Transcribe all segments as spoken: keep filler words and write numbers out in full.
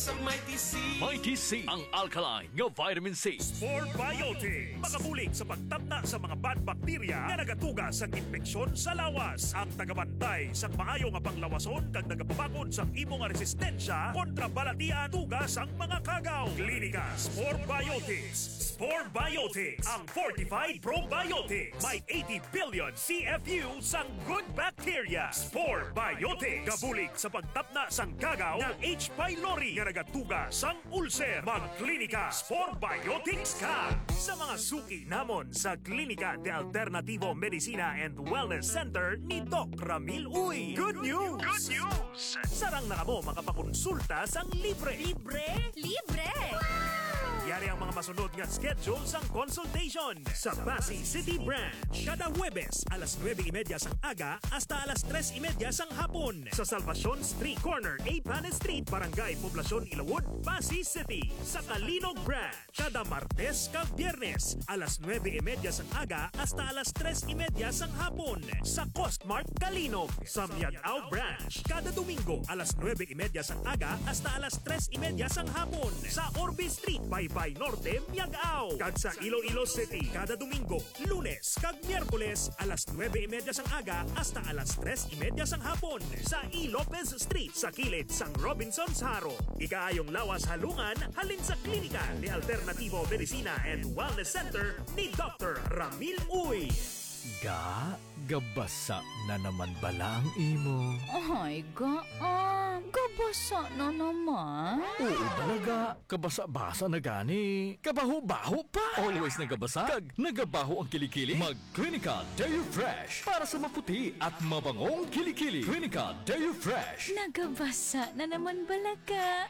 Sa Mighty C. Mighty C, ang alkaline nga vitamin C. Spore Biotics, makabulig sa pagtapna sa mga bad bacteria nga nagatuga sa impeksyon sa lawas. Ang tagabantay sa maayo nga panglawason kag nagapabakod sa imo nga resistensya kontra balatian tuga sang mga kagaw. Klinika Spore Biotics. Spore Biotics, ang fortified probiotics. May eighty billion C F U sang good bacteria. Spore Biotics, gabulig sa pagtapna sang kagaw nga H. pylori nga nagatuga sang ulcer. Magklinika Spore Biotics ka. Sa mga suki namon sa Klinika de Alternativo Medicina and Wellness Center ni Doc Ramil Uy. Good news! Good news! Sarang na kamo makapakonsulta sang libre. Libre? Libre! Yari ang mga masunod nga schedule sang consultation. Sa Passi City Branch, kada Huwebes, alas nuebe y media sang aga hasta alas tres y media sang hapon. Sa Salvacion Street, corner A Panes Street, Barangay Poblacion, Ilawod, Passi City. Sa Calinog Branch, kada Martes kag Biyernes, alas nuebe y media sang aga hasta alas tres y media sang hapon. Sa Costmart Calinog, sa Miag-ao Branch, kada Domingo, alas nuebe y media sang aga hasta alas tres y media sang hapon. Sa Orbe Street, Baybay Norte, Miag-ao. Kag sa Iloilo City, kada Domingo, Lunes kag Miyerkules, alas nuebe y media sang aga hasta alas tres y media sang hapon, sa E. Lopez Street, sa kilid sang Robinsons Jaro. Ikaayong lawas halungan halin sa Klinika de Alternativo Medicina and Wellness Center ni Doctor Ramil Uy. Ga, gabasa na naman bala ang imo? Ay, ga, ah, gabasa na naman. Oo bala, ga. Kabasa-basa na gani. Kabaho-baho pa. Always nagabasa kag nagabaho ang kilikili. Mag Klinika Deo Fresh para sa maputi at mabangong kilikili. Klinika Deo Fresh. Nagabasa na naman bala ka.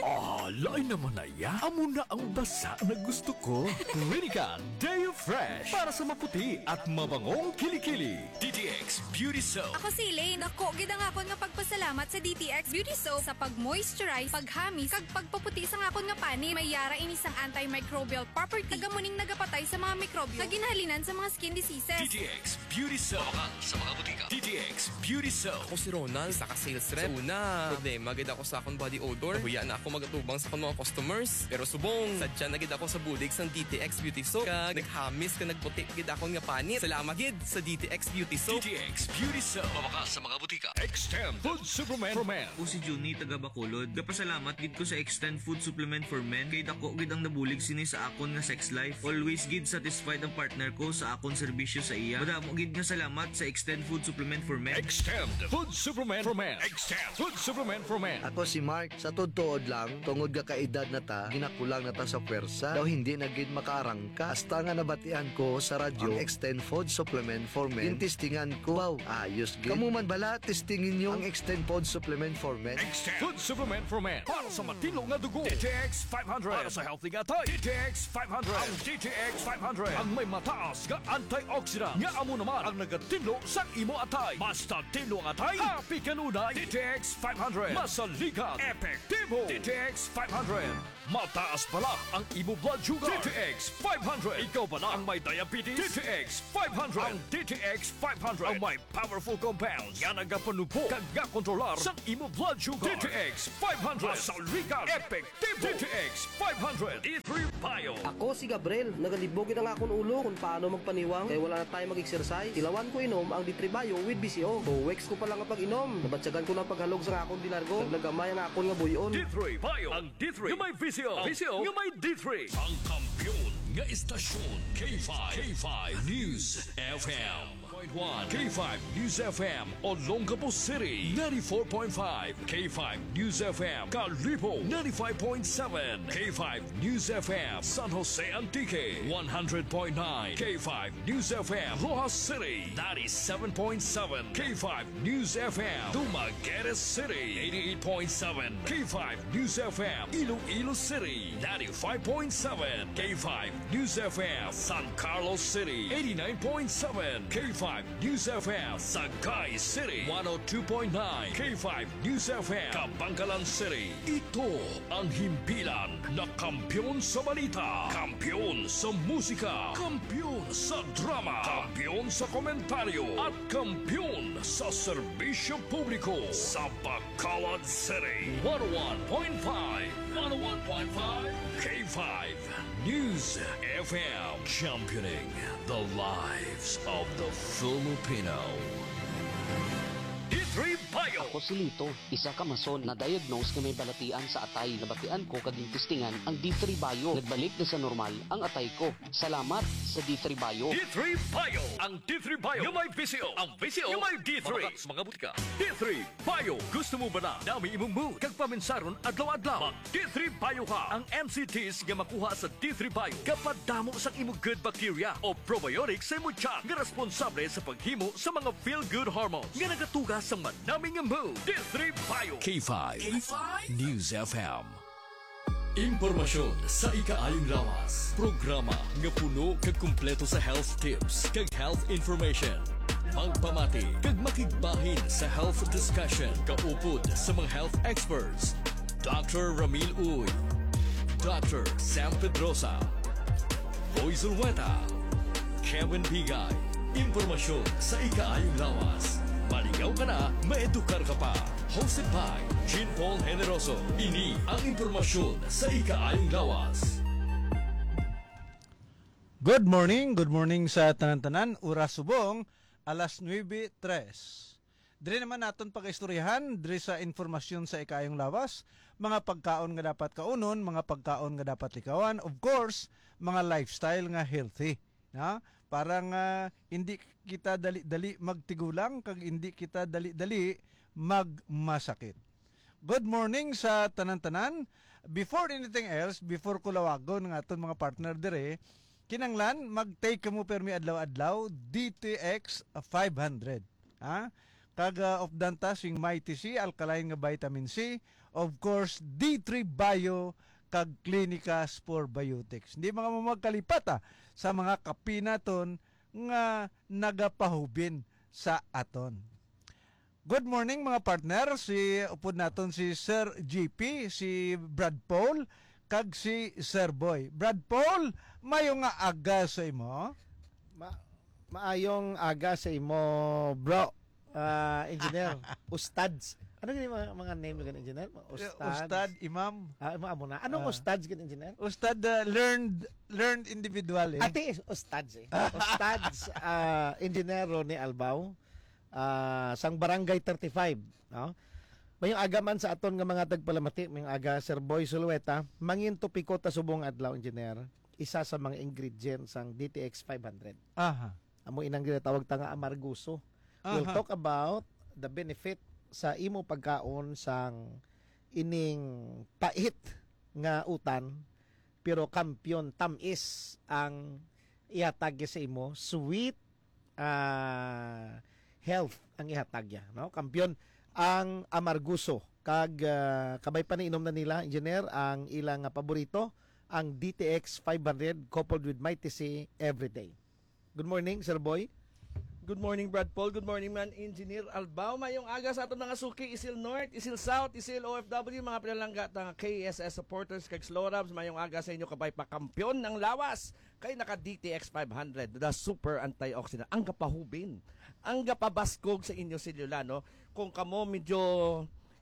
Ah, lain naman na ya. Amo na ang basa na gusto ko. Klinika Deo Fresh para sa maputi at mabangong kilikili. D T X Beauty Soap. Ako si Elaine. Dako gid ang akon nga pagpasalamat sa D T X Beauty Soap sa pag-moisturize, paghamis, kag pagpaputi sang akon nga panit. May yara ini sang antimicrobial property, kag amo ning nagapatay sa mga mikrobyo nga ginahalinan sa mga skin diseases. D T X Beauty Soap. Mabakal sa mga butika. D T X Beauty Soap. Ako si Ronald, isa ka sales rep. Sa una, problema gid ako sa akong body odor. Nahuya na ako magatubang sa akong mga customers. Pero subong, sadya na gid ako sa bulig sang D T X Beauty Soap. Kag naghamis kag nagputi gid akon nga panit. Salamat gid sa D T X Beauty Soap. D T X Beauty Soap. Mabakal sa mga butika. Extend Food Supplement for Men. Ako si Junie, taga Bacolod. Gapasalamat gid ko sa Extend Food Supplement for Men kay dako gid ang nabulig sini sa akon nga sex life. Always gid satisfied ang partner ko sa akon serbisyo sa iya. Madamo gid nga salamat sa Extend Food Supplement for Men. Extend Food Supplement for Men. Extend Food Supplement for Men. Ako si Mark. Sa tuod-tuod lang, tungod nga kaedad na ta, ginakulang na ta sa pwersa. Daw hindi na gid makaarangka. Hasta nga nabatian ko sa radyo ang Extend Food Supplement for Men, gintistingan ko. Wow, ayos gid. Kamo man bala, testingin nyo ang Extend Food Supplement for Men. Extend Food Supplement for Men. Para sa matinlo nga dugo, D T X five hundred. Para sa healthy nga atay, D T X five hundred. Ang D T X five hundred ang may mataas nga antioxidant, nga amo naman ang nagatinlo sa imo atay. Basta tinlo ang atay, happy kanunay. D T X five hundred. Masaligan, epektibo. D T X five hundred. Mataas bala ang imo blood sugar. D T X five hundred. Ikaw bala ang may diabetes? D T X five hundred. Ang D T X five hundred ang may powerful compounds nga nagapanubo kag gakontrolar sa imo blood sugar. D T X five hundred. Masaligan, epektibo. D T X five hundred. D three Bio. Ako si Gabriel. Nagalibog gid ang akon ulo kung paano magpaniwang kay wala na tayo mag-exercise. Tilawan ko inom ang D three Bio with B C O. Two weeks ko pa lang nga pag-inom, nabatyagan ko na ang paghalog sa akon dinargo. Naglagamay ang akon nga buy-on. D three Bio. Ang D three nga may V C O. Ang V C O nga may D three. Ang kampiyon nga istasyon, K five. K five News F M. Point one, K five News F M, Olongapo City, ninety-four point five, K five News F M, Kalibo, ninety-five point seven, K five News F M, San Jose Antique, one hundred point nine, K five News F M, Roxas City, ninety-seven point seven, K five News F M, Dumaguete City, eighty-eight point seven, K five News F M, Iloilo City, ninety-five point seven, K five News F M, San Carlos City, eighty-nine point seven, K five five News F M, Sagay City, one oh two point nine K five News F M, Kabangalan City. Ito ang himpilan na kampiyon sa balita, kampiyon sa musika, kampiyon sa drama, kampiyon sa komentaryo, at kampiyon sa serbisyo publiko sa Bacolod City. One oh one point five, one oh one point five K five News F M, championing the lives of the Filipino. D three Bio. Ako si Lito, isa ka mason na diagnose nga may balatian sa atay. Nabatian ko kag gintistingan ang D three Bio. Nagbalik na sa normal ang atay ko. Salamat sa D three Bio. D three Bio. Ang D three Bio nga may V C O. Ang V C O nga may D three. Mga butika. D three Bio. Gusto mo ba na dami imong mood kag paminsaron adlaw-adlaw? Mag D three Bio ka. Ang N C Ts nga makuha sa D three Bio kapadamo sang imo good bacteria o probiotic sa imo tiyan nga responsable sa paghimo sa mga feel-good hormones nga nagatuga sa manami nga mood. D three Bio. K five K five News F M. Impormasyon sa ikaayong lawas. Programa nga puno kag kumpleto sa health tips kag health information. Magpamati kag makigbahin sa health discussion kaupod sa mga health experts, Doctor Ramil Uy, Doctor Sam Pedrosa, Boy Zulueta, Kevin Bigay. Impormasyon sa ikaayong lawas. Maligaw ka na, maedukar ka pa. Hosted by Jean Paul Generoso. Ini ang impormasyon sa ikaayong lawas. Good morning, good morning sa tanan-tanan. Oras subong, alas nuebe tres. Diri naman naton pagaistoryahan, diri sa informasyon sa ikaayong lawas, mga pagkaon nga dapat kaunon, mga pagkaon nga dapat likawan, of course, mga lifestyle nga healthy, na? Para nga hindi kita dali-dali magtigulang kag hindi kita dali-dali magmasakit. Good morning sa tanan-tanan. Before anything else, before ko lawagon nga aton mga partner dire, kinanglan mag-take kamo permi adlaw-adlaw D T X five hundred. Ha? Kag, ah, of dantas sing Mighty C, alkaline nga vitamin C, of course, D three Bio, kag Clinicas Probiotics. Hindi mga magkalipat, ah, sa mga kape naton nga nagapahubin sa aton. Good morning, mga partner. Si upod naton si Sir G P, si Brad Paul, kag si Sir Boy. Brad Paul, mayo nga aga sa imo. Ma- maayong aga sa imo, bro. Ah, engineer, ustads. Ano gani mga, mga name gani, engineer? Mga ustads. Ustad, imam. Ah, imo amo na. Anong Ah. ustads gani, engineer? Ustad, ah, learned, learned individual, eh. Ati, ustads, eh. Ustads, ah, engineer Ronnie Albao, ah, sang Barangay thirty-five, no? Mayong aga man sa aton nga mga tagpalamati, mayong aga, Sir Boy Sulueta. Mangin topiko ta subong adlaw, engineer. Isa sa mga ingredients sang D T X five hundred. Aha. Amo inang ginatawag ta nga amargoso. We'll Aha. talk about the benefit sa imo pagkaon sang ining pait nga utan, pero kampiyon, tamis ang ihatag sa imo, sweet, ah, health ang ihatag niya, no? Kampiyon ang amargoso kag, ah, kabay pa niinom na nila, engineer, ang ilang, ah, paborito, ang D T X five hundred coupled with Mighty C every day. Good morning, Sir Boy. Good morning, Brad Paul. Good morning, man, Engineer Albao. Mayong aga sa aton mga suki, Isil North, Isil South, Isil O F W, mga pinalangga ta nga K S S supporters kag Slorabs. Mayong aga sa inyo, kabay pa, kampiyon ang lawas kay naka D T X five hundred, the super antioxidant. Ang gapahubin, ang gapabaskog sa inyo selula, no? Kung kamo medyo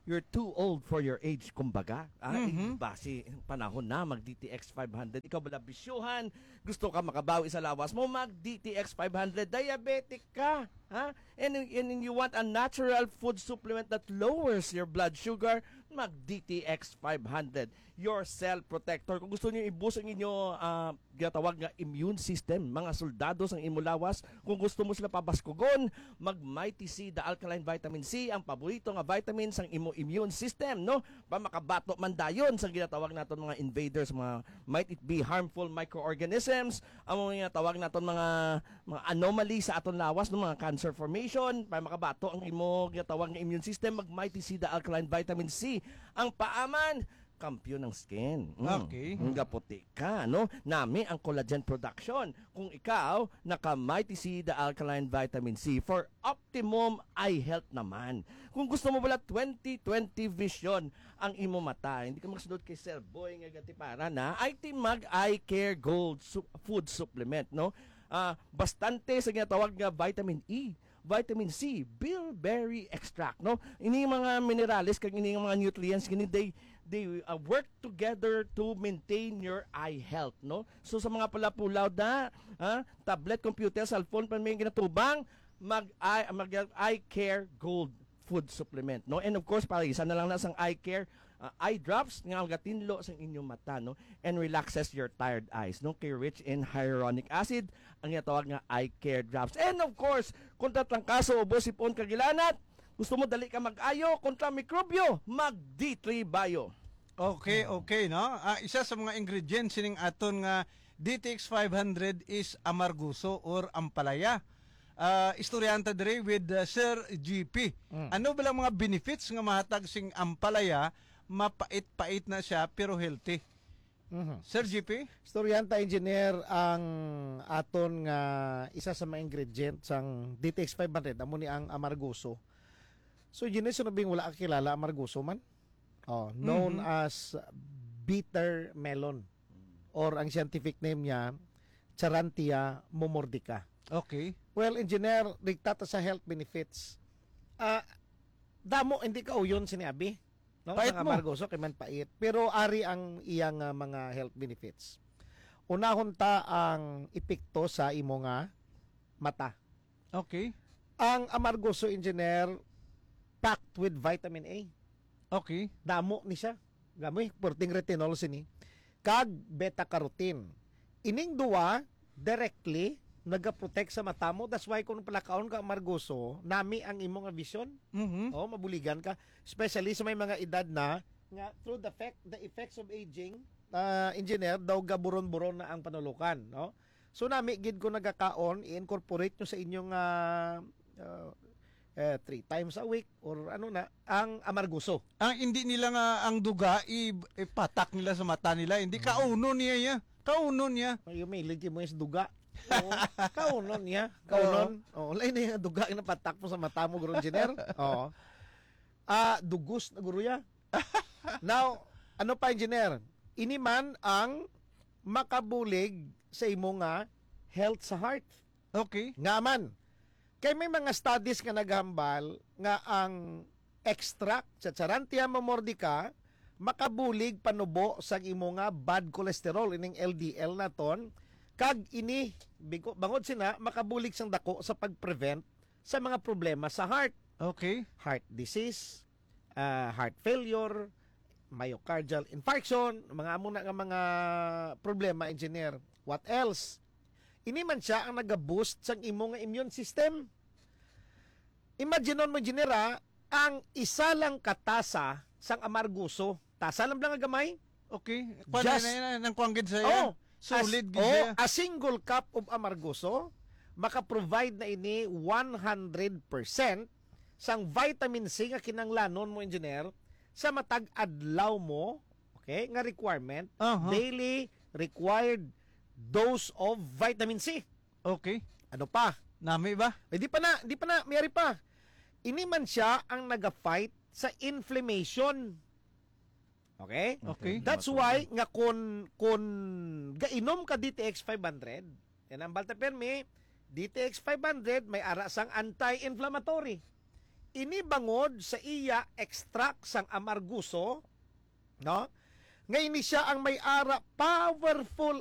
you're too old for your age, kumbaga. Ah, Mhm. eh, basi, panahon na mag D T X five hundred. Ikaw bala bisyuhan, gusto ka makabawi sa lawas mo, mag D T X five hundred. Diabetic ka, ha? And, and you want a natural food supplement that lowers your blood sugar, mag D T X five hundred. Your cell protector. Kung gusto niyo i-boost ang inyo, ah, ginatawag nga immune system, mga soldado sang imo lawas, kung gusto mo sila pabaskugon, mag Mighty C, the alkaline vitamin C, ang paborito nga vitamin sang imo immune system, no? Pa makabato man dayon sa ginatawag naton mga invaders, mga, might it be harmful microorganisms, ang mga ginatawag naton mga, mga anomaly sa aton lawas, no? Mga cancer formation, pa makabato ang imo ginatawag nga immune system, mag Mighty C, the alkaline vitamin C. Ang paaman, Kampiyon ng skin. Mm. Okay. Nga puti ka, no? Nami ang collagen production. Kung ikaw, naka Mighty C, the alkaline vitamin C for optimum eye health naman. Kung gusto mo pala twenty twenty vision ang imo mata, hindi ka magsunod kay Sir Boy nga gatipara na, ay ti mag Eye Care Gold su- food supplement, no? Ah, bastante sa ginatawag nga vitamin E, vitamin C, bilberry extract, no? Ini mga minerales kag ini mga nutrients, kini they they uh, work together to maintain your eye health, no? So sa mga pulapulaw na, ah, tablet, computer, cellphone pa may ginatubang, mag eye, mag eye care gold food supplement, no? And of course, para isa na lang na sang eye care, ah, eye drops nga magatinlo sang inyong mata, no? And relaxes your tired eyes, no? Kay rich in hyaluronic acid ang ginatawag nga eye care drops. And of course, kontra trangkaso, ubo, sipon, kagilanat, gusto mo dali ka mag-ayo kontra mikrobyo, mag D three Bio. Okay, okay, no? Ah, isa sa mga ingredients sining aton nga D T X five hundred is amargoso or ampalaya. Ah, istoryahan ta diri with, uh, Sir G P. Mm. Ano ba lang mga benefits nga mahatag sing ampalaya? Mapait-pait na siya pero healthy. Mhm. Sir G P? Istoryahan ta, engineer, ang aton nga isa sa mga ingredient sang D T X five hundred, amo ni ang amargoso. So, engineer, so nabing wala ka kilala amargoso man? Oh, known Mhm. as bitter melon, or ang scientific name niya, Charantia momordica. Okay. Well, engineer, dikta ta sa health benefits. Ah, damo, hindi ka uyon sini abi. No? Pait Ang mo. amargoso kay man pait. Pero ari ang iyang, ah, mga health benefits. Unahon ta ang epekto sa imo nga mata. Okay. Ang amargoso, engineer, packed with vitamin A. Okay. Damo ni siya. Gamoy, perting retinol sini. Kag beta carotene. Ining duwa, directly, nagaprotect sa mata mo. That's why kung palakaon ka amargoso, nami ang imo nga vision. Mhm. Oh, mabuligan ka. Especially sa may mga edad na, nga through the fact, the effects of aging, ah, engineer, daw gaburon-buron na ang panulukan, no? So, nami gid ko nagakaon, i-incorporate nyo sa inyong, ah, ah, eh, three times a week or ano na, ang amargoso. Ang hindi nila nga ang duga, i-, ipatak nila sa mata nila. Hindi, Mm. kaunon niya, ya. Kaunon niya. Ay, umilig mo is duga. Oo, kaunon niya. Kaunon. Oo. Oo, lain na yung duga yung napatak mo sa mata mo, Guru Engineer. Oo. Ah, dugos na, Guru, ya. Now, ano pa, Engineer? Ini man ang makabulig sa imo nga health sa heart. Okay. Nga man, kay may mga studies nga naghambal nga ang extract sa Charantia momordica makabulig panubo sa imo nga bad cholesterol, ining L D L naton, kag ini, bigo-, bangod sina, makabulig sang dako sa pag-prevent sa mga problema sa heart. Okay. Heart disease, ah, heart failure, myocardial infarction, mga amo na nga mga problema, engineer. What else? Ini man siya ang naga-boost sang imo nga immune system. Imaginon mo, engineer, ah, ang isa lang ka tasa sang amargoso, tasa lang bala nga gamay. Okay. Kuwan Just na, na, nang kuwan gid siya. Oh, Solid as, gid oh, siya. A single cup of amargoso, maka-provide na ini one hundred percent sang vitamin C nga kinanglanon mo, engineer, sa matag adlaw mo, okay, nga requirement, Aha. daily required dose of vitamin C. Okay. Ano pa? Nami ba? Eh, di pa na, di pa na, mayari pa. Ini man siya ang naga-fight sa inflammation. Okay? Okay. That's why nga kun, kun gainom ka D T X five hundred, yan ang balta permi, D T X five hundred may ara sang anti-inflammatory. Ini bangod sa iya extract sang amarguso, no? Nga ini siya ang may ara powerful